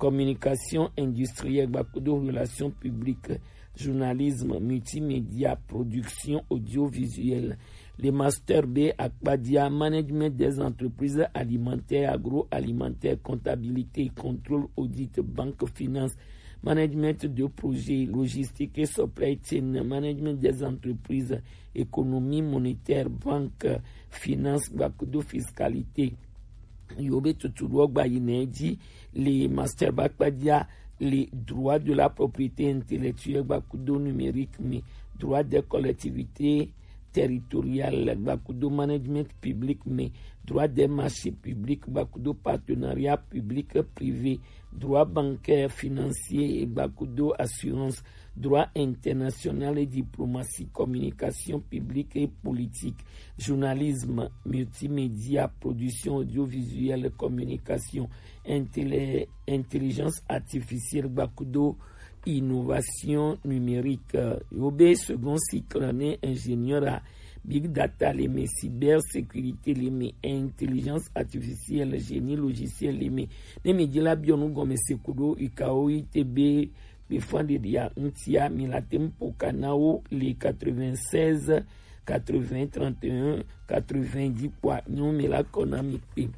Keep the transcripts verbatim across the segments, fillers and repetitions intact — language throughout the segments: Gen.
communication industrielle, gbakudo relation publique, journalisme, multimédia, production audiovisuelle. Le master B akpadia, management des entreprises alimentaires, agroalimentaires, comptabilité, contrôle, audit, banque, finance, management de projet, logistique et supply chain, management des entreprises, économie monétaire, banque, finance, gbakudo fiscalité. Yo be tutu ɖo gba yi nɛ ji le master ba kpadia le droit de la propriété intellectuelle gbakudo numérique me, droit des collectivités territoriales gbakudo management public me, droit des marchés publics gbakudo partenariat public privé, droit bancaire financier gbakudo assurance, droit international et diplomatie, communication publique et politique, journalisme, multimédia, production audiovisuelle, communication, intellé-, intelligence artificielle, gbakudo innovation numérique. Euh, yo be second cycle ne ingénieur à big data le me, cyber sécurité le me, intelligence artificielle, génie logiciel le me. Ne mi di la biɔ nu gɔme se kudo ikao ite be be fan de dia ŋutia, mi la tem poka na wo le quatre-vingt-seize, quatre-vingts, trente et un, quatre-vingts di kpɔa, nyo mi la kɔ na mi kpe.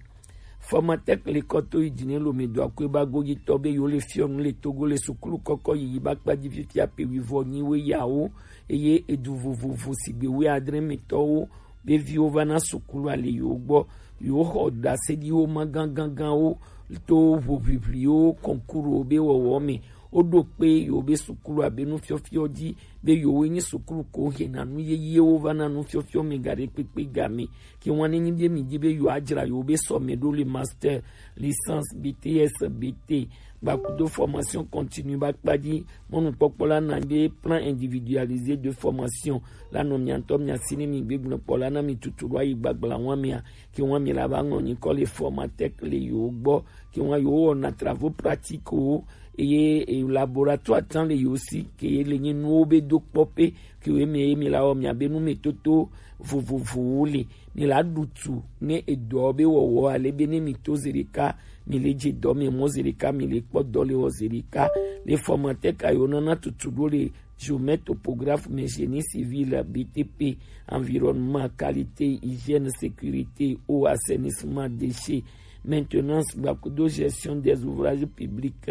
Formatec le kɔto yi dine lo me do akwe ba gogi tɔ be yo le fiɔ nu le Togo le sukulu kɔkɔ yi ba kpa di fifia pe wi vɔ nyi we ya wo, eye edu vovovo sigbe we adre me tɔ wo be viwo va na sukulu ale yo gbɔ, yo xɔ daseɖiwo ma ganganganwo to ʋuʋiʋliwo kɔnkuru be wɔwɔ me. Woɖo kpe yo be sukulu abe nufiɔfiɔ dzi be yo nyi sukulu ko hena nu yeyewo va na nufiɔfiɔ me gaɖe kpekpe game. Ke wan ne nyi be mi di be yo adzra yo be sɔme ɖo le master, licence, B T S, B T, gbakudo formation continue ba kpa di. Mɔnukpɔkpɔ la na be plan individualisé de formation la nɔ mia ŋutɔ mia si ne mi gbegblẽ kpɔ la na mi tutu ɖo ayi gbagbla wan mia, ke wan mi la ba ŋlɔ nyikɔ le Formatec le yo gbɔ, ke wan yo wɔna travaux pratiques wo, eye e laboratoire tã le yo si, ke ye le nyi nuwo be do kpɔ pe, ke wo me ye mi la wɔ mia be nu me toto vovovowo le. Mi la ɖu tu ne edɔ be wɔwɔ ale be ne mi to zeɖeka, mi le dze dɔ me mɔ zeɖeka, mi le kpɔ dɔ le wɔ zeɖeka. Le Formatec a yo nana tutu ɖo le géomètre topographe me, génie civil, B T P, environnement, qualité, hygiène, sécurité, eau, assainissement, déchets, maintenance, gbakudo gestion des ouvrages publics,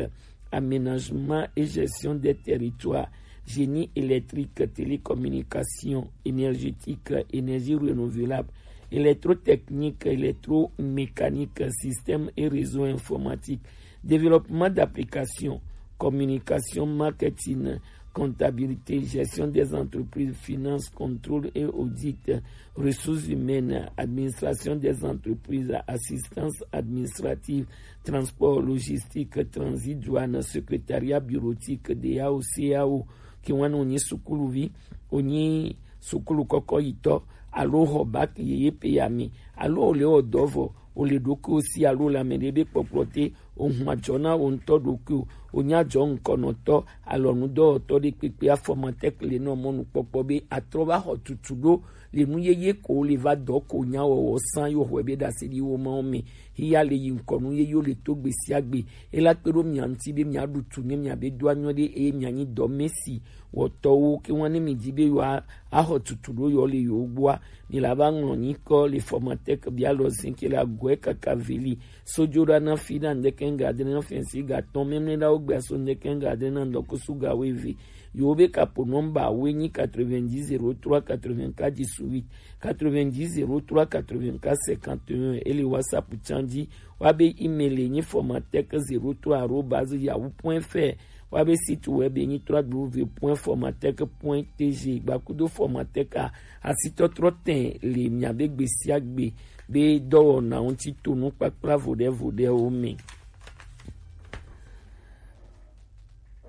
aménagement et gestion des territoires, génie électrique, télécommunication, énergétique, énergie renouvelable, électrotechnique, électromécanique, système et réseau informatique, développement d'applications, communication, marketing, comptabilité, gestion des entreprises, finance, contrôle et audit, ressources humaines, administration des entreprises, assistance administrative, transport, logistique, transit, douane, secrétariat bureautique, D A O, C A O, ke wan wo nyi sukuluvi, wo nyi sukulu kɔkɔ yitɔ, alo xɔ bac yeye pe ya mi, alo wo le wɔ dɔ vɔ, wo le ɖokuiwo si alo le ame ɖe be kpɔkplɔ te, wo hun ajɔ na wo ŋutɔ ɖokuiwo, wo nya jɔ ŋkɔnɔtɔ, alɔnudɔwɔtɔ ɖe kpekpe. Formatec le nɔ mɔnukpɔkpɔ be atrɔ va xɔ tutu ɖo le nu yeye ko le va dɔ ko nya wɔwɔ san yo xɔe be ɖase ɖi wo ma wo me. Hiya le yi ŋkɔ nu yeye wo le to gbe sia gbe. E la kpe ɖo mia ŋuti be mia ɖu tu ne mia be do anyɔ ɖe eye mia nyi dɔ me si wɔtɔwo ke wan ne mi di be yo a-, axɔ tutu ɖo yo le yo gbɔa, mi la va ŋlɔ nyikɔ le Formatec bia lɔ zin ke le agɔe kaka veli. Sojo ɖa na fi na ŋdɛkɛ ŋga adre na fɛnsi ga tɔn mɛmlɛ ɖa wo gbɛ so ŋdɛkɛ ŋga adre na ŋdɔkusu ga wo eve. Yo be kapo nɔmba wo nyi quatre-vingt-dix zéro trois quatre-vingt-quatre dix-huit, quatre-vingt-dix zéro trois quatre-vingt-quatre cinquante et un, e le WhatsApp tsan ji. Wa be email nyi formatec zéro trois arobase yahoo point F R. Wa be site web nyi trois W point formatec point T G. Gbakudo Formatec a, asitɔtrɔ tɛn le mia be gbe sia gbe be dɔwɔna ŋuti to nukpakpla voɖe voɖewo me.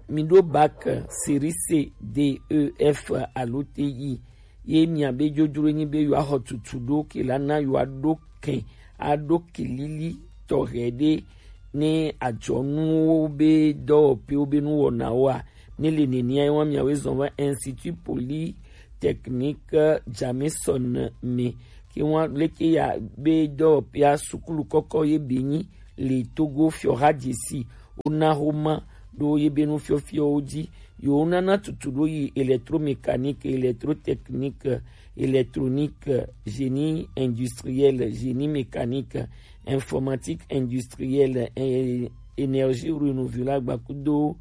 Mi ɖo bac série C, D, E, F alo T I. Ye mia be dzodzro nyi be yo axɔ tutu ɖo ke la na yo aɖo kɛn, aɖo ke lili tɔxɛ ɖe ne adzɔnuwo be dɔwɔƒewo be nuwɔnawo a, ne le nenia ye wa mia we zɔn va Institut Polytechnique Jameson me. Ke wa leke ya be dɔwɔƒea sukulu kɔkɔ ye be nyi le Togo fiɔha dzesi wona xoma ɖo yebe nufiɔfiɔwo ji. Yewo nana tutu ɖo yi électromécanique, électrotechnique, électronique, génie industriel, génie mécanique, informatique industrielle, é-, énergie renouvelable, kudo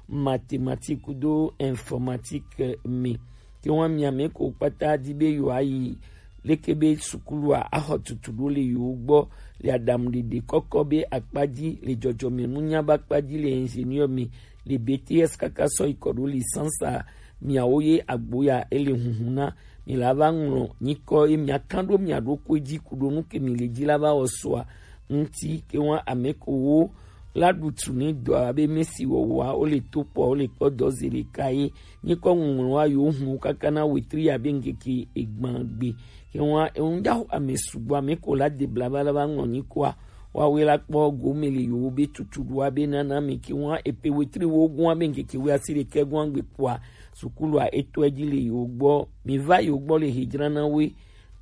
mathématique, kudo informatique me. Ke wa mi ame ko kpata di be yo ayi leke be sukulua axɔ tutu ɖo le yewo gbɔ, le aɖaŋuɖeɖe kɔkɔ be akpa ji, le dzɔdzɔmenunya be akpa ji, le ingénieur me, le B T S kaka sɔ yi kɔ ɖo licence a, miawo ye agbo ya ele hunhun na. Mi la va ŋlɔ nyikɔ ye mia kan ɖo mia ɖokui ji ku ɖo nu ke mi le ji la va wɔ sɔa ŋuti. Ke wa ame ko wo la ɖu tu ne dɔa be mesi wɔwɔa wo le to kpɔ, wo le kpɔ dɔ ze ɖeka ye. Nyikɔ ŋuŋlɔ wa yo hun kaka na wetri ya be ŋkeke egban gbe. Ke wa eŋu da ame sugbɔ, ame ko la de bla va la va ŋlɔ nyikɔa, wa we la kpɔ gome le yo be tutu ɖoa be nana mi. Ke wa epe wetri wo gɔn be ŋkeke we asi ɖekɛ gɔn gbe kpɔa, sukulua etɔ ji le yo gbɔ. Mi va yo gbɔ le hejra na we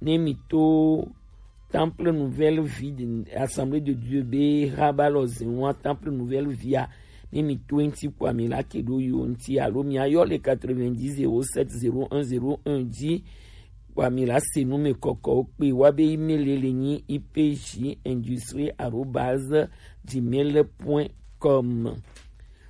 ne mi to Temple Nouvelle Vie de, Assemblée de Dieu be haba lɔ zen wa Temple Nouvelle Vie a, ne mi to ŋuti kpɔa mi la ke ɖo yo ŋuti alo mi ayɔ le quatre-vingt-dix zéro sept zéro un zéro un ji kpɔa mi la se nu me kɔkɔ wo kpe wa be email le nyi I P J industrie arobase gmail point com.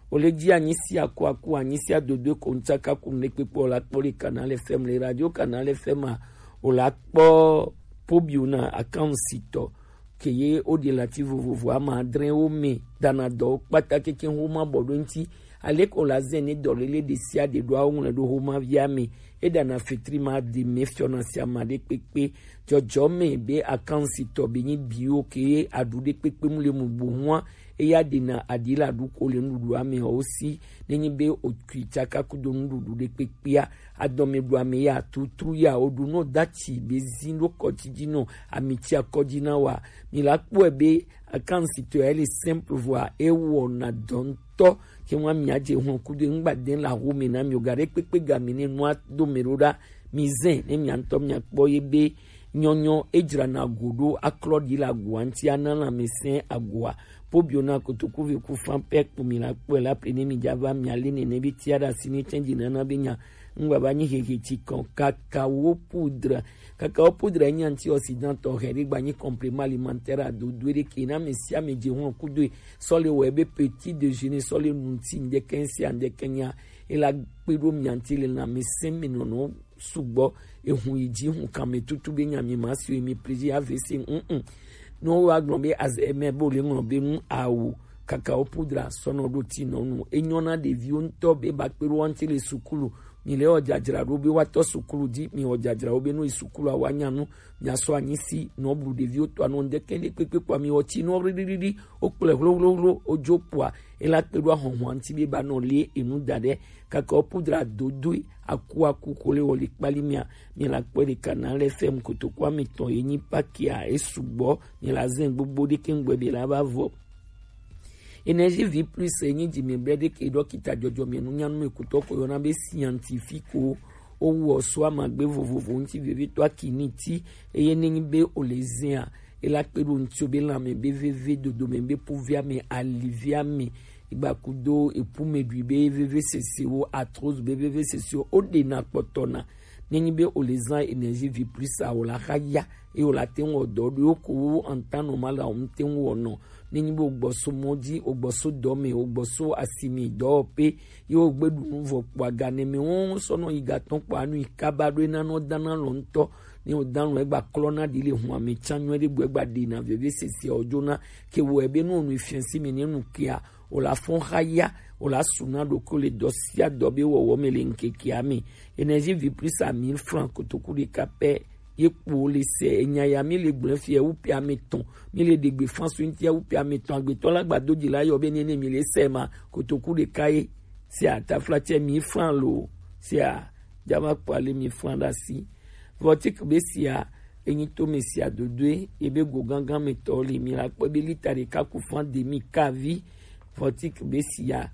O le ji anyi si aku aku, anyi si adodo ko ŋtsaka ku ne kpekpe o la kpɔ le Canal F M, le radio Canal F M a, o la kpɔ Pobiona akan sitɔ ke ye o de lati vovovo ama adre wo me dana dɔ kpata keke ho ma bɔ ɖo ŋti. Ale ko la zen ne dɔ lele de sia de ɖo awo ŋlɛ ɖo ho ma via me. E dana fetri ma de me fiɔ na sia ma ɖe kpekpe. Dzɔdzɔ me be akan sitɔ be nyi biwo ke ye aɖu ɖe kpekpe mu le mu bo hua. Eya ɖena aɖi la ɖu ko le nuɖuɖu ame wo si. Ne nyi be o kui tsaka kudo nuɖuɖu ɖe kpekpea, adɔme ɖu ame ya tutru ya o ɖu no dati be zi ɖo kɔti ji no ami ti akɔji na wa. Mi la kpɔe be akan sitɔ ya le simple voa e wɔna dɔ ŋutɔ. Ke wa mi adze hɔn kudo ŋgba den la ho me na mi o ga ɖe kpekpe ga mi ne nua do me ɖo ɖa. Mi zen ne mi ŋutɔ mi akpɔ ye be nyɔnyɔ edzrana go ɖo aklɔ ɖi le agoa ŋuti ana lãmesẽ agoa. Pobiona kotoku ve ku fan pɛ kpo mi la kpɔe la ple ne mi dza va mi ale nene be tia ɖe asi ne tsɛn dzi nana be nya ŋgba va nyi hehe tsi kɔn. Kakao poudre. Kakao poudre nye antioxydant tɔxɛ ɖe gba nyi complément alimentaire adodo ɖe ke na ame sia ame dze hɔn kudoe sɔ le wɔe be petit déjeuner sɔ le nu ŋuti ŋdɛkɛ sia ŋdɛkɛ nya. E la kpe ɖo mia ŋuti le lãmesẽ me nɔnɔ sugbɔ, ehun yi dzi hun kame tutu be nya mi ma si mi plaisir A V C, mm. No wa gblɔ be azeme bo le ŋlɔ be nu awu kakao poudre sɔnɔ ɖo ti nɔ nu. Enyɔ na ɖeviwo ŋutɔ be ba kpe ɖo wa ŋuti le sukulu. Mi le wɔ dzadzra ɖo be wa tɔ sukulu dzi, mi wɔ dzadzra wo be no yi sukulu wa nya nu, mia sɔ anyi si nɔ blu ɖeviwo tɔ anɔ ŋdɛkɛ ɖe kpekpe kpɔ mi wɔ ti nɔ ɣliɣliɣli, wo kplɔe hlohlohlo, wo dzo kpɔa, e la kpe ɖo ahɔhɔa ŋuti be ba nɔ le enu da ɖe. Kakao poudre dodoe aku aku ko le wɔ le kpali mia, mi la kpɔe ɖe Canal F M kotoku ame tɔn ye nyi pakia e sugbɔ, mi la zen gbogbo ɖe ke ŋgbɛ be la va vɔ. Énergie Vie Plus e nyi dzi mi be ɖe ke ɖɔkita dzɔdzɔ mi nu nyanu me kutɔ ko yɔna be scientifique o, o wɔ so amagbe vovovo ŋuti vevitɔ akini ti, eye ne nyi be o le zea, e la kpe ɖo ŋuti o be lãme be veve, dodome be pouvoir me, alivia me, igbakudo epume ɖui be veve sese wo, arthrose be veve sese wo, o ɖe na kpɔtɔ na. Ne nyi be o le zan Énergie Vie Plus a, o la xa ya, eye o la te ŋu wɔ dɔ ɖo ko wo en temps normal a, o ŋu te ŋu wɔ nɔ. Ne nyi be o gbɔ so mɔ dzi, o gbɔ so dɔ me, o gbɔ so asimi dɔwɔƒe, ye o gbe ɖu nu vɔ kpɔ aga ne me wo sɔ nɔ yi gatɔ kpɔ anu yi kaba ɖo ena nɔ dana lɔ ŋutɔ. Ne o dan lɔ egba klɔ na ɖi le hun ame tsa nyuie ɖe gbɔ egba ɖe na veve sese o jo na ke wɔ ebe nu o nu fiansi mi ne nu kia o la fɔn xa ya, o la su na ɖokui le dɔ sia dɔ be wɔwɔ me le ŋkekea me. Énergie Vie Plus a mille francs kotoku ɖeka pɛ ye kpo le se enya ya mi le gblẽ fia wu pe ame tɔn, mi le ɖegbe fan so ŋutia wu pe ame tɔn agbetɔ la gbado dzi la yɔ be nene mi le se ma kotoku ɖeka ye sia tafla tse mille francs lo sia jama kpɔ ale mille francs ɖe asi. Vɔtik be sia enyi to me sia dodoe ebe go gangan me tɔ le mi la kpɔ be lita ɖeka ku fan demi kavi. Vɔtik be sia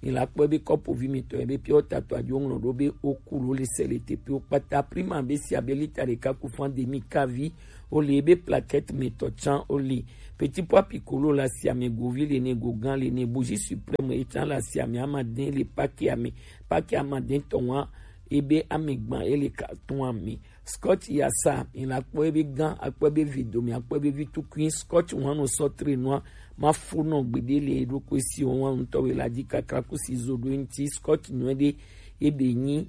mi la kpɔ be kɔpovi mi tɔ ebe pia o tato adzo ŋlɔ ɖo be o ku lo le se le te pio kpata prima be sia be lita ɖeka ku fan demi kavi. O le ebe plaquette me tɔ tsan o le Petit Pois Piccolo le asiame, Govi le ne, Gogan le ne, Bougie Suprême ye tsã le asiame, amadɛn le paki ame, paki amadɛn tɔn wa ebe amegban ye le carton ame. Scotch Yasa, mi la kpɔ ebe gan, akpɔ ebe vi do, mi akpɔ ebe vi tukui. Scotch wan no sɔ tre nua, ma fo nɔ gbede le eɖokui si o wan ŋutɔ we la dzi kakra kusi zo ɖo eŋuti. Scotch nyuie ɖe ebe nyi.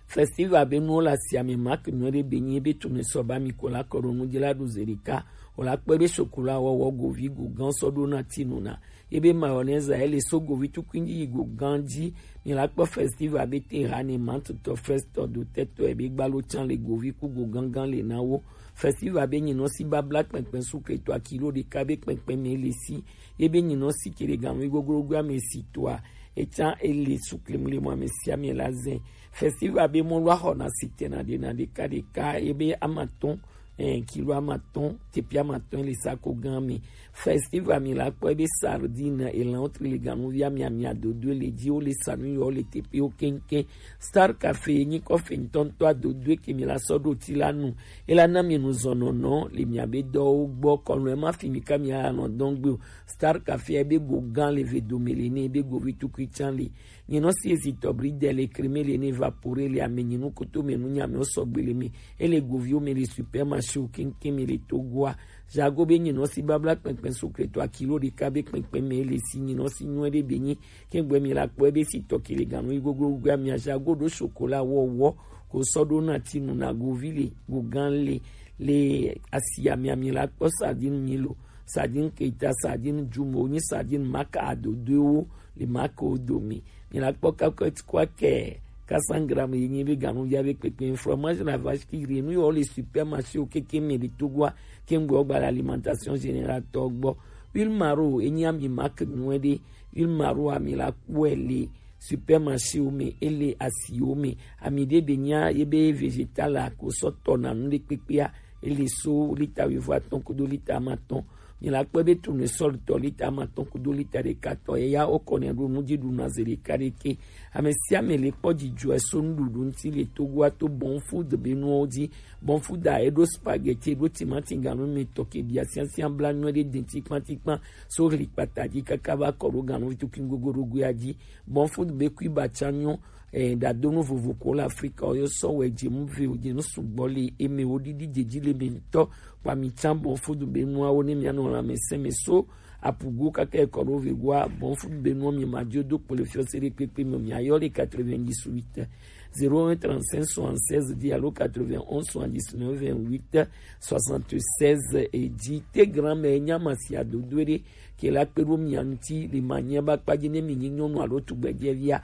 Festival be nuwo le asiame, Mark nyuie ɖe be nyi ebe tunu sɔ ba mi ko la kɔ ɖo nu dzi la ɖo ze ɖeka. O la kpɔ ebe chocolat wɔwɔ, Govi, Gogan sɔ ɖo na tinu na. Ebe mayonnaise ele so Govi tukui dzi yi Gogan dzi. Mi la kpɔ festival be te ha ne mantutɔ festɔ do tɛtɔ ebe gbalo tsã le Govi ku Gogangan le na wo. Festival be nyinɔ si babla kpɛnkpɛn sukre to akilo ɖeka be kpɛnkpɛn me le si. Ebe nyinɔ si kele ganu goglogo ame si toa. Etsã ele sukle mle mo ame sia ame la zɛ. Festival be mɔlu axɔ na sitena ɖe na ɖeka ɖeka ebe amatɔn, eh, kilo amatɔn, tepi amatɔn le sako gan me. Festival mi la kpɔ ebe sardine elan wotri le ganuvi ame ame adodo le dzi, wo le sanu yɔ le tepi wo keŋkeŋ. Star Café nyi kɔfe ŋutɔŋutɔ adodo ke mi la sɔ ɖo ti la nu. Ela na mi nu zɔnɔnɔ le mi abe dɔwo gbɔ kɔnu ema fi mi ka mi anɔ dɔn gbe o. Star Café ebe go gan le ve dome le ne ebe go vi tukui tsã le. Nyinɔ si ezi tɔbri de le kreme le ne vapore le ame nyinu koto me nu nyame o sɔgbe le me. Ele goviwo me le supermarché o keŋkeŋ me le Togoa. Jago be nyinɔ si babla kpɛnkpɛn sukre to akilo ɖeka be kpɛnkpɛn me le si nyinɔ si nyuie ɖe be nyi. Kɛŋgbɛ mi la kpɔ ebe si tɔ kele ganu yi goglogo amia jago ɖo chocolat wɔwɔ ko sɔ ɖo na tinu na govi le gogan le le asi amia mi la kpɔ sardine milo, sardine keita, sardine jumo, nyi sardine maka adodoewo le maka wo domi. Mi la kpɔ kakɔt kwa kɛ quatre cents grammes yi nyi be ganu ya be kpekpe. Fromage la vache qui rit nu yɔ le supermarché o keke me de Togoa kɛŋgbɛ o gba la alimentation générale tɔ gbɔ. Huile maro enyi ami marque nyuie ɖe. Huile maro ami la kpɔe le supermarché wo me, ele asi wo me. Ami ɖe be nya ye be végétal la ko sɔ tɔ na nu ɖe kpekpea, ele so lita wuivo atɔn kudo lita amatɔn. Mi la kpɔe be tournesol tɔ lita amatɔn kudo lita ɖeka tɔ. Eya o kɔ ne ɖo nu dzi ɖu na ze ɖeka ɖeke. Ame sia ame le kpɔ dzidzɔe so nuɖuɖu ŋuti le Togoa to Bon Food be nuwo dzi. Bon Food a eɖo spaghetti, eɖo timati ganu me tɔ ke bia siasia bla nyuie ɖe denti kpatikpan so hli kpata dzi kaka va kɔ ɖo ganu vitu kin gogo ɖo goea dzi. Bon Food be kui ba tsa nyɔ, eh, ɖadonu vovo ko le Afrika o yɔ sɔ wɛ dze mu ve o dze nu sugbɔ le eme wo ɖiɖi dze dzi le me ŋutɔ. Kpa mi tsa Bon Food be nuawo ne mia nɔ lãmesẽ me so apugo kaka ekɔ ɖo ve goa. Bon Food be nuwo mi ma dzo do kpo le fiɔ se ɖe kpekpe me o mia yɔ le quatre-vingt-dix-huit zéro un trente-cinq soixante-seize dix alo quatre-vingt-onze soixante-dix-neuf vingt-huit soixante-seize. Edzi te grand me nya ma si adodo ɖe ke la kpe ɖo mia ŋuti le ma nya ba kpa dzi ne mi nyi nyɔnu alo tugbedzevia.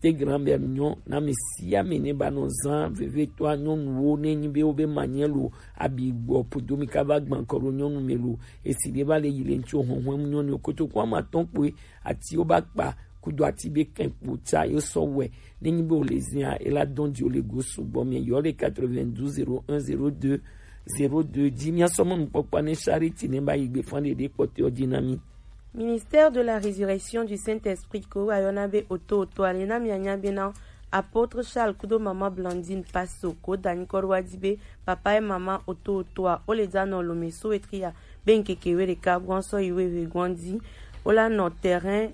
Te grand me nyɔ na mi sia mi ne ba nɔ zã vevitɔa nyɔnuwo ne nyi be wo be ma nya lo abi gbɔ podo mi ka va gbã kɔ ɖo nyɔnu me lo. Esi ɖe va le yi le ŋuti o hɔnhɔn nyɔnu kotoku ama tɔn kpoe ati wo ba kpa kudo ati be kɛn kpo tsa yo sɔ wɛ. Ne nyi be o le zia e la dɔn di o le go sugbɔ mi yɔ le quatre-vingt-douze zéro un zéro deux zéro deux dzi mia sɔ mɔ nukpɔkpɔ ne Charity ne ba yi gbe fan ɖeɖe kpɔtɔ dzi na mi. Ministère de la Résurrection du Saint-Esprit ko wa yɔna be oto oto ale na mia nya be na Apôtre Charles kudo Maman Blandine Paso ko da nyikɔ ɖo wa di be papa et maman oto otoa o le dza nɔ lome so wetria be ŋkeke we ɖeka gbɔn sɔ yi we ve gbɔn di o la nɔ terrain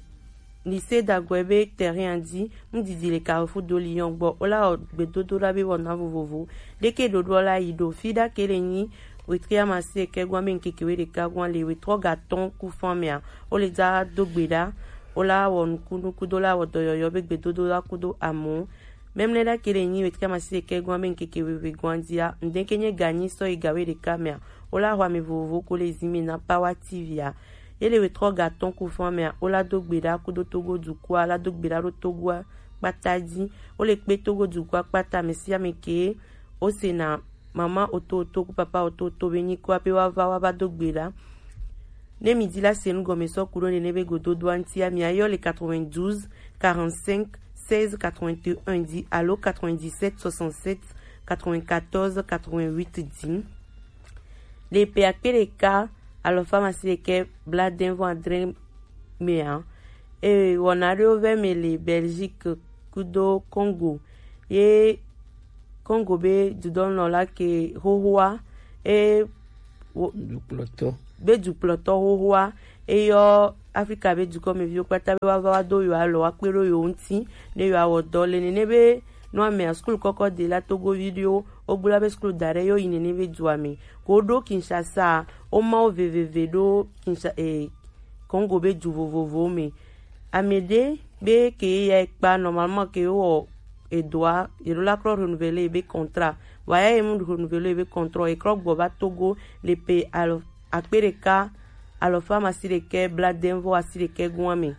lycée dagɔe be terrain a di ŋdidi le Carrefour do Lyon gbɔ o la wɔ gbedodo ɖa be wɔna vovovo ɖeke ɖoɖoa la yi ɖo fi ɖa ke le nyi wetria masi eke gbɔn be ŋkeke we ɖeka gbɔn le wetrɔ ga tɔn ku fan mea o le dza do gbe ɖa o la wɔ nukunuku do la wɔ dɔyɔyɔ be gbedodo la kudo amu. Memle ɖa ke le nyi wetria masi eke gbɔn be ŋkeke we ve gbɔn dia ŋdeke nye ganyi sɔ yi ga we ɖeka mea o la xɔ ame vovovo ko le zi mi na Power T V a. Ye le wetrɔ ga tɔn ku fan mea o la do gbe ɖa kudo Togo dukɔa la do gbe ɖa ɖo Togoa kpata di o le kpe Togo dukɔa kpata ame sia ame ke o se na mama oto oto ku papa oto oto be nyikɔa pe wa va wa va do gbe ɖa. Ne mi di la se nu gɔme sɔ ku ɖo nene be gododoa ŋtia mi ayɔ le quatre-vingt-douze quarante-cinq seize quatre-vingt-un di alo quatre-vingt-dix-sept soixante-sept quatre-vingt-quatorze quatre-vingt-huit di. Le pe akpe ɖeka alɔfa masi ɖekɛ bladɛn vɔ adre mea. Eye wɔna ɖewo vɛ me le Belgique kudo Congo. Ye Congo be dudɔnɔ la ke xoxoa e wo dukplɔtɔ be dukplɔtɔ xoxoa, eyɔ Afrika be dukɔmeviwo kpata be woava wa do yewo alɔ wa kpe ɖo yewo ŋuti ne yewoawɔ dɔ le nene be nɔ amea skul kɔkɔ de la Togo viɖewo wogblɔ be skul da ɖe yewo yi nene be dua me ko woɖo Kinshasa, woma wo veveve ɖo Kinsha eh, Congo be du vovovowo me. Ame ɖe be ke ya kpa normalement ke wɔ edoa yeɖo la krɔ renouveler ebe contrat, vɔa ya ye mu renouveler ebe contrat, ekrɔ gbɔ va Togo le pe alo akpe ɖeka alɔfa amasiɖekɛ bladeŋ vɔ asiɖekɛ goa me.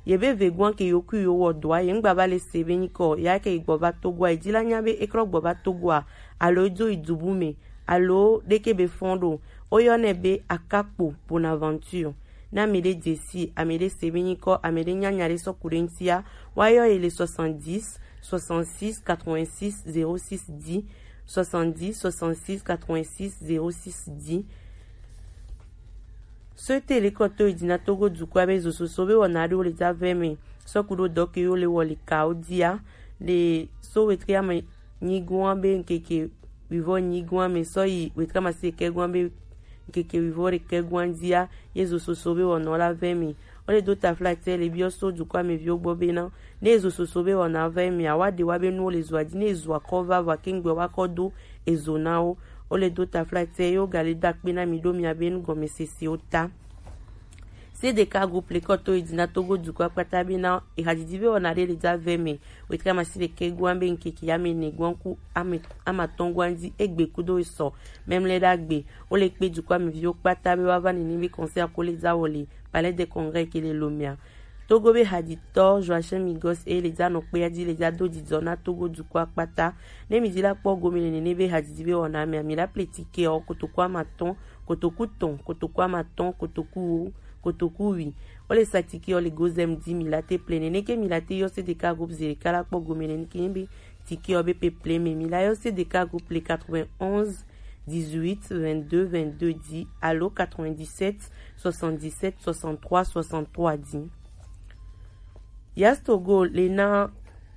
Ye be ve goa ke yewo kui yewo wɔ doa ye ŋgba va le se be nyikɔ ya ke gbɔ va Togoa, ye di la nya be ekrɔ gbɔ va Togoa alo edzo yi dubu me alo ɖeke be fɔn ɖo. Woyɔnɛ be Akakpo Bonaventure. Ne ame ɖe dze si, ame ɖe se be nyikɔ, ame ɖe nya nya ɖe sɔ ku ɖe ŋutia, woayɔ ye le soixante-dix, soixante-six, quatre-vingt-six, zéro six dix, soixante-dix, soixante-six, quatre-vingt-six, zéro six dix. Sɔte le kɔtɔ yi dina Togo dukɔa be zososo be wɔna ɖewo le dza vɛ me sɔ ku ɖo dɔ ke yo le wɔ le kawo dia le so wetre ame nyigoa be ŋkeke wivɔ nyigoa me sɔ yi wetre amasiɖekɛ goa be ŋkeke wivɔ ɖekɛ goa dia ye zososo be wɔnɔ la vɛ me. Wo le do taflatɛ le biɔ so dukɔa me viwo gbɔ be na ne ezo soso be wɔna va emi awa ɖe wa be nuwo le zoa dzi ne ezo akɔ va vɔ ake ŋgbe wa kɔ do ezo na wo. Wo le do taflatɛ ye wo ga le do akpe na mi ɖo mia be nugɔmesesewo ta. C D K groupe le kɔ to yi dzi na Togo dukɔa kpata be na ehadzidzi be wɔna ɖe le dza vɛ me wetre amasiɖekɛ goa be ŋkeke ame ene goa ku ame amatɔn goa dzi egbe kudo esɔ mɛmlɛ ɖe agbe. Wo le kpe dukɔa me viwo kpata be wa va nene be concert ko le dza wɔ le Palais des Congrès ke le Lomea. Togo be hadzitɔ Joachim Migos e le dza nɔ kpea dzi le dza do dzidzɔ na Togo dukɔa kpata. Ne mi dzi la kpɔ gome le nene be hadzidzi be wɔna mea, mi la ple tike ɔ kotoku amatɔn, kotoku tɔn, kotoku amatɔn, kotoku wo, kotoku wi. Wo le sa tike ɔ le Gozem di mi la te ple nene ke mi la te yɔ C D K groupe zereka la kpɔ gome le nene ke be tike ɔ be peple me mi la yɔ C D K groupe le quatre-vingt-onze dix-huit vingt-deux vingt-deux dix alo quatre-vingt-dix-sept soixante-dix-sept soixante-trois soixante-trois dix. Yas Togo le na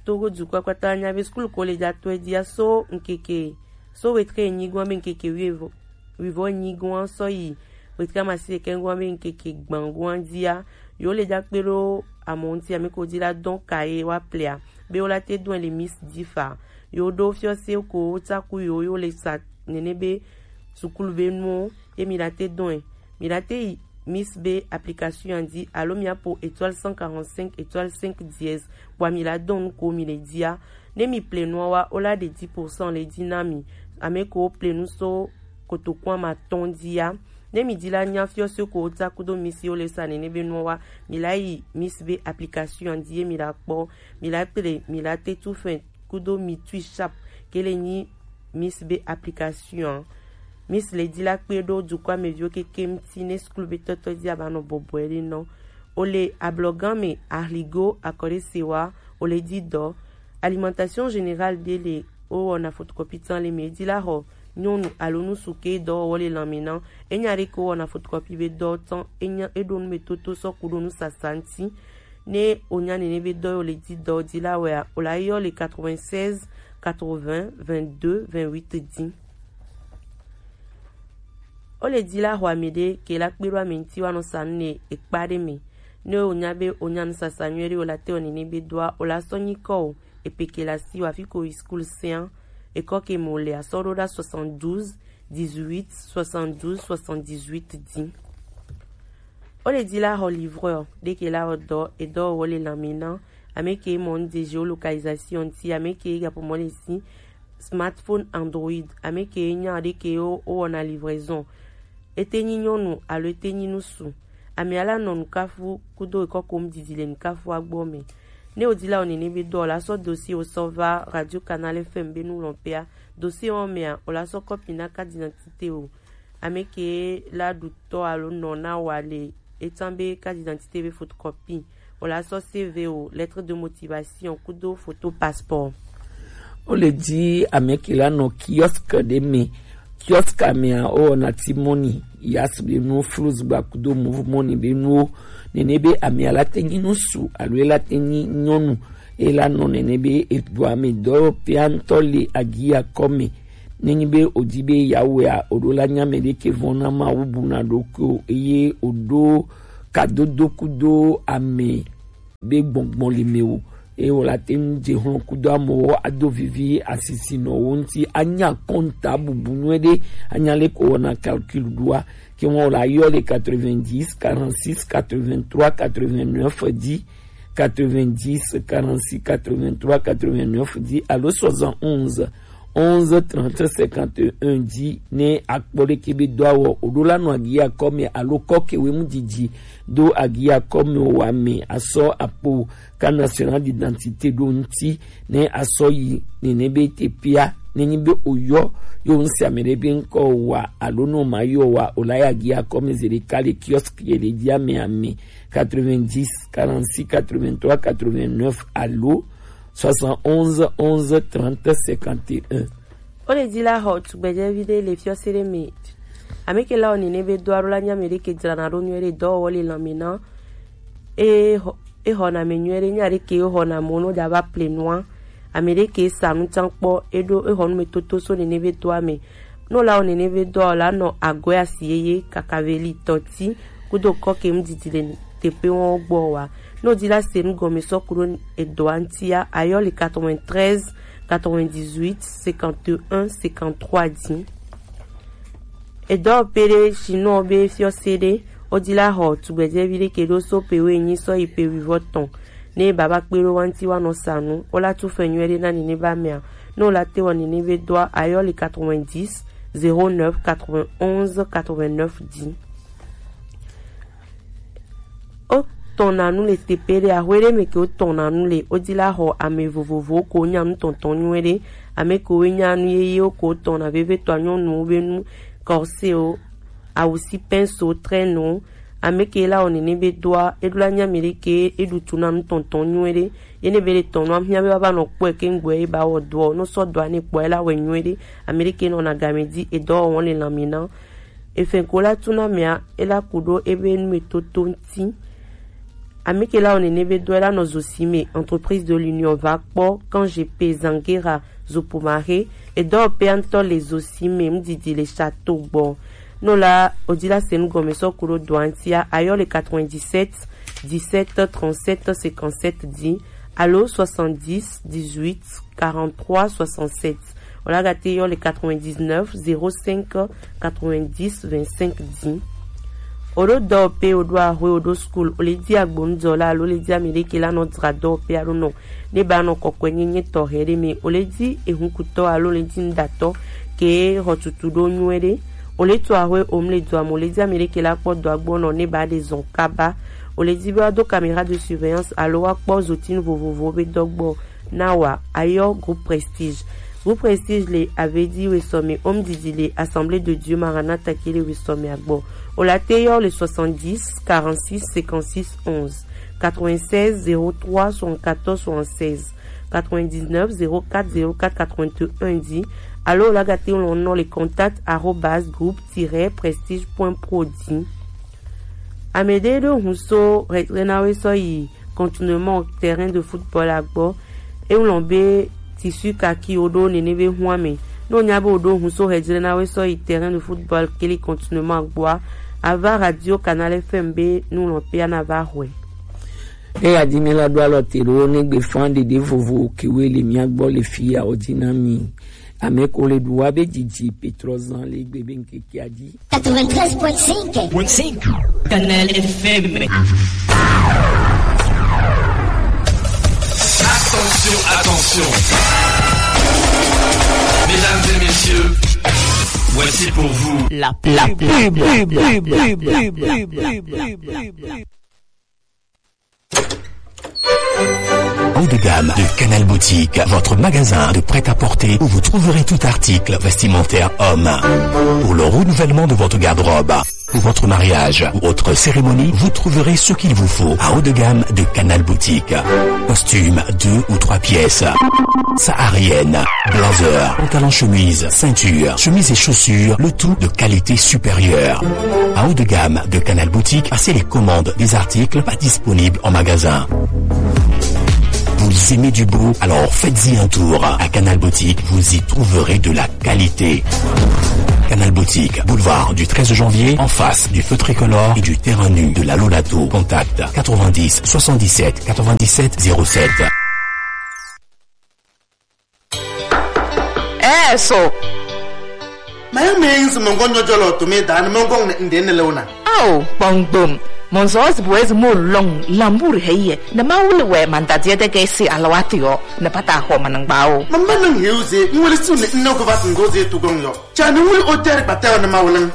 Togo dukɔa kpata nya be skul ko le dza tɔe dia so ŋkeke so wetre enyi goa be ŋkeke wivɔ wivɔ enyi goa sɔ yi wetre amasiɖekɛ goa be ŋkeke gban goa dia yo le dza kpe ɖo amɔ ŋuti ame ko di la dɔn ka ye wa plea be wo la te dɔn le Miss Difa yo ɖo fiɔse ko wo tsaku yo yo le sa nene be sukulu be nuwo ye mi la te dɔn mi la te yi Miss be application ya dzi alo mia po étoile cent quarante-cinq étoile cinq dièse bua mi la dɔn nu ko mi le dia. Ne mi ple nua wa wo la ɖe dix pour cent le dzi na mi. Ame ko wo ple nu so kotoku amatɔn dia. Ne mi di la nya fiɔse ko wo tsa kudo Miss yo le sa nene be nua wa mi la yi Miss be application ya dzi ye mi la kpɔ mi la ple mi la te tu fin kudo mi tui sharp ke le nyi Miss be application. Miss le di la kpe ɖo dukɔa me viwo keke ŋuti ne skul be tɔtɔ di aba nɔ bɔbɔe ɖe nɔ. O le ablɔgan me ahligo akɔɖe se wa o le di dɔ. Alimentation générale ɖe le wo wɔna photocopie tan le me di la xɔ nyɔnu alo nusu ke dɔwɔwɔ le lanme na. Enya ɖe ko wɔna photocopie be dɔ tan enya eɖo nu me toto sɔ ku ɖo nu sasa ŋuti. Ne o nya nene be dɔ yo le di dɔ di la wɛa o la yɔ le quatre-vingt-seize quatre-vingts vingt-deux vingt-huit dix. O le di la xɔ ame ɖe ke la kpe ɖo ame ŋuti wa nɔ sa nu ne ekpa ɖe me. Ne o nya be o nya nu sasa nyuie ɖe o la te o nene be dɔa o la sɔ nyi kɔ o epe ke la si wa fi ko yi skul sean ekɔ ke mo le asɔ ɖo ɖa soixante-douze dix-huit soixante-douze soixante-dix-huit dix. O le di la xɔ livreur ɖe ke la wɔ dɔ edɔwɔwɔ le lanme na ame ke mɔ nu de géolocalisation ti ame ke gapo mɔ le si smartphone Android ame ke nya ɖe ke wo wɔna livraison. Ete nyi nyɔnu alo ete nyi nusu. Ame ala nɔ nukafu kudo ekɔ kom didi le nukafua gbɔ me. Ne o di la o nene be dɔ o la sɔ dossier o sɔ va Radio Canal F M be nu lɔn pea. Dossier wɔ mea o la sɔ kɔpi na carte d'identité o. Ame ke la ɖu tɔ alo nɔ na wa le etan be carte d'identité be photocopie. O la sɔ C V o, lettre de motivation kudo photo passeport. O le di ame ke la nɔ kiosque ɖe me. Kiosque mea o wɔna ti mɔni yas be nuwo flus gba kudo move mɔni be nuwo. Nene be ame ala te nyi nusu alo e la te nyi nyɔnu e la nɔ nene be egbɔ ame dɔ pea ŋutɔ le agi akɔ me. Nenyi be odi be yawea, oɖo la nya mɛ ɖe ke vɔn na Mawu bu na ɖokui o, eye oɖo kadodo kudo ame be gbɔngbɔn le mɛ o. Eye wòla te ŋu dze hlɔ̃ kudo amewo ado vivi asisinɔwo ŋuti, anya kɔnta bubu nyuie ɖe, anya le ko wɔna calcul ɖoa. Ke wɔn wòla yɔ le quatre-vingt-dix, quarante-six, quatre-vingt-trois, quatre-vingt-neuf dzi, quatre-vingt-dix, quarante-six, quatre-vingt-trois, quatre-vingt-neuf dzi alo soixante-onze, onze, trente, cinquante et un dzi ne akpɔ ɖeke be do awɔ oɖo la nɔ agia kɔme alo kɔke wemu didi do agia kɔme wa me asɔ akpo ka national d'identité ɖo ŋuti ne asɔ yi nene be tepia nenyi be oyɔ yo ŋsi ame ɖe be ŋkɔ wa alo no ma yɔ wa o la ya agia kɔme ze ɖeka le kiosque ye le di ame ame quatre-vingt-dix, quarante-six, quatre-vingt-trois, quatre-vingt-neuf alo soixante-onze, onze, trente, cinquante et un. O le di la xɔ tugbedzɛvi ɖe le fiɔse ɖe me. Ame ke la o nene be do alo la nya ame ɖe ke dzrana ɖo nyuie ɖe dɔwɔwɔ le lãme na. E xɔ, e xɔna ame nyuie ɖe nya ɖe ke e xɔna mo no dza va ple nua. Ame ɖe ke sa nu tsan kpɔ e ɖo e xɔ nu me toto so nene be do ame. No la o nene be do o la nɔ agɔe asi yeye kaka veli tɔti kudo kɔke ŋdidi le teƒe wɔn gbɔ wa. Ne wòdi la se nu gɔme sɔ ku ɖo edɔa ŋutia, ayɔ le quatre-vingt-treize, quatre-vingt-dix-huit, cinquante et un, cinquante-trois dzi. Edɔwɔƒe ɖe si nɔ be fiɔse ɖe, wòdi la xɔ tugbedzevi ɖe ke ɖo so pe woenyi sɔ yi pe wuivɔ tɔn. Ne baba kpe ɖo wa ŋuti wa nɔ sa nu, wola tu fɛ nyuie ɖe na nene ba mea. Ne wola te wɔ nene be dɔa, ayɔ le quatre-vingt-dix, zéro neuf, quatre-vingt-onze, quatre-vingt-neuf dzi. Wotɔna nu le teƒe ɖe, axwe ɖe me ke wotɔna nu le, wodi la xɔ ame vovovowo ko nya nu tɔntɔn nyuie ɖe, ame kewo nya nu yeyewo ko wotɔna vevitɔ, nyɔnuwo be nu, kɔsewo, awu si pincewo, traînewo, ame ke la wɔ nene be doa, eɖo la nya ame ɖe ke eɖu tu na nu tɔntɔn nyuie ɖe, ye ne be le tɔn nua, hiã be va va nɔ kpɔe ke ŋgbɔe ye ba wɔ doɔ, no sɔ doa ne kpɔe la wɔ nyuie ɖe, ame ɖe ke nɔna game di, edɔwɔwɔ le lãme na. Efɛn ko la tu na mea, ela ku ɖo ebe nu me toto ŋuti. Ame ke la wɔ nene be dɔ ela nɔ Zosime, entreprise de l'Union va kpɔ, Kangepe, Zangera, Zopomare, edɔ pea ŋutɔ le Zosime, ŋdidi le Château gbɔ. No la, odi la se nu gɔme sɔ ku ɖo dɔa ŋutia, ayɔ le quatre-vingt-dix-sept, dix-sept, trente-sept, cinquante-sept dzi, alo soixante-dix, dix-huit, quarante-trois, soixante-sept. Wala gate yɔ le quatre-vingt-dix-neuf, zéro cinq, quatre-vingt-dix, vingt-cinq dix. Oɖo dɔwɔƒe, oɖo axwe, oɖo school, ole di agbonudɔla alo ole di ame ɖe ke la nɔ dzra dɔwɔƒe alo nɔ ne ba nɔ kɔkɔe nyenye tɔxɛ ɖe me, ole di ehunkutɔ alo ole di nuɖatɔ ke xɔ tutu ɖo nyuie ɖe. Ole to axwe omle dɔa me, ole di ame ɖe ke la kpɔ dɔa gbɔ nɔ ne ba ɖe zɔn kaba. Ole di be wa do caméra de surveillance alo wa kpɔ zotinu vovovowo be dɔ gbɔ. Na wa, ayɔ groupe Prestige. Groupe Prestige le Avedi wesɔme, Home Didi le Assemblée de Dieu Maranatha ke le wesɔme agbɔ. Ola te yɔ le soixante-dix, quarante-six, cinquante-six, onze, quatre-vingt-seize, zéro trois, soixante-quatorze, soixante-seize, quatre-vingt-dix-neuf, zéro quatre, zéro quatre, quatre-vingt-un dix. Alo ola gate lɔn nɔ le contact arobase groupe tiret prestige point pro dix. Ame ɖe ɖo hun so Renawe sɔ yi contournement terrain de football agbɔ. Eŋlɔ be tissu kaki woɖo nene be hun ame. Ne wonya be woɖo hun so Renawe sɔ yi terrain de football kele contournement agbɔa, ava Radio Canal F M be nulɔƒea na va xɔe. Eya di mi la ɖo alɔ te ɖo ne gbe fan ɖeɖe vovo kewe le mia gbɔ le fi ya o di na mi. Ame ko le ɖu wa be didi Petrozan le gbe be ŋkeke a di. Quatre-vingt-treize point cinq. Point cinq. Canal F M. Attention, attention. Mesdames et messieurs, voici pour vous la pub. Haut de gamme de Canal Boutique, votre magasin de prêt-à-porter où vous trouverez tout article vestimentaire homme. Pour le renouvellement de votre garde-robe, pour votre mariage ou autre cérémonie, vous trouverez ce qu'il vous faut à haut de gamme de Canal Boutique. Costume deux ou trois pièces, saharienne, blazer, pantalon chemise, ceinture, chemise et chaussures, le tout de qualité supérieure. À haut de gamme de Canal Boutique, passez les commandes des articles pas disponibles en magasin. Vous Vous aimez du beau ? Alors faites-y un tour. À Canal Boutique, vous y trouverez de la qualité. Canal Boutique, boulevard du treize janvier, en face du feu tricolore et du terrain nu de la Lolato. Contact quatre-vingt-dix soixante-dix-sept quatre-vingt-dix-sept zéro sept. Eh, so. Maya me yin se mɔngɔ nyɔjɔ le otome da ne mɔngɔ ne nde ne le ona. Ao, kpɔngbom. Mɔnzɔ zi bo ezi mo long lambur heye. Ne ma wuli we mandadie de ge si alawati yo. Ne pata ho manangba o. Mamba nang heu ze, nwele su ne nno go vat ngo ze tu gong yo. Cha ne wuli o ter pata yo ne ma wulang.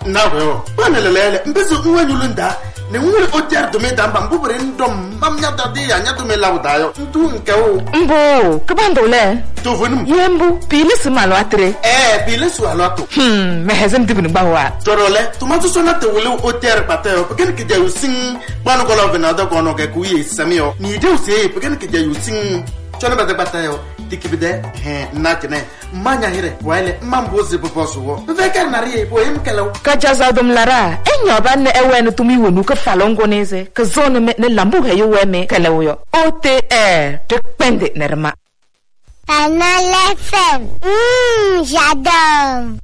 Na we o. Ba ne lele le. Mbezo nwe nyulunda. Ne wuli o ter do me damba mbubure ndom. Mam nya dade ya nya do me lawo da yo. Ntu nke o. Mbo, ke bando le. To vonum. Ye mbu, pili si malo atre. Eh, pili su alo ato. Hmm, me hezem dibini ba wa. Toro le, to ma so na te wuli o ter pata yo. Pegen ke ja using. Ba no ko lo vena da ko no ke ku ye sami yo. Ni de use, pegen ke ja using. Chona ba de pata yo. Dikibide, he, na kene. Manya hire, waile, mambo ze bobo zuwo. Veke na rie, bo im kelo. Ka jaza dum lara, enyo ba ne ewe ne tumi wonu ke falongo neze, ke zone me ne lambu he yo we me kele wo yo. O T R, te kpende ne rema. Canal F M, mm, j'adore.